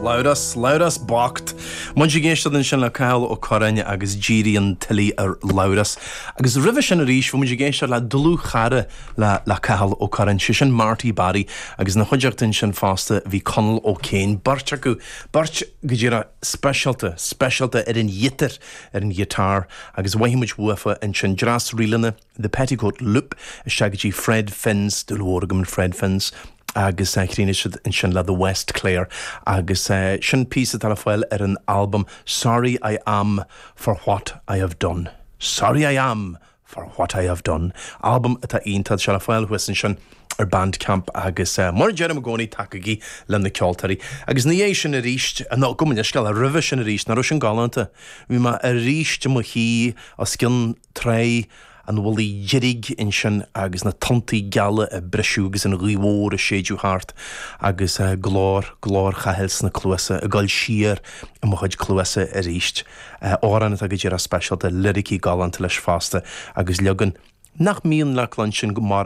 Labhrás, Labhrás bocht. Muid ag éisteacht ansin le Cathal Ó Curráin agus Díríonn Tilly ar Labhrás. Agus roimhe sin arís, bhí muid ag éisteacht le dlúthchara le le Cathal Ó Curráin, sé sin Marty Barry, agus ina chuideachta ansin fosta bhí Conall Ó Céin, beirt acu, beirt go díreach speisialta, speisialta ar an ghiotár, ar an ghiotár, agus mhothaigh muid uafa ansin, dreas ríleanna. The Petticoat Loop isteach go dtí Fred Finn's, dúil mhór agam in Fred Finn's, agus chríochnaigh siad ansin le The West Clare agus sin píosa atá le fáil ar an albam Sorry I Am For What I Have Done. Sorry I Am For What I Have Done. Albam atá iontach, tá sé le fáil thuas ansin ar Bandcamp agus mar a deirim i gcónaí tacaígí le na ceoltóirí. Agus ina dhiaidh sin arís, nó gabh mo leithscéal, roimhe sin arís, nach raibh sin galánta? Bhí mé arís i mo shuí os cionn Trá an Mhullaigh Dheirg ansin agus na tonntaí geala ag briseadh agus an ghaoth mhór ag séideadh thart agus glór, glór Chathail sna cluasa, ag dul siar i mo chuid cluasa arís. Amhrán atá go díreach speisialta, liricí galánta leis fosta agus leagan nach mbíonn le cluinstin go.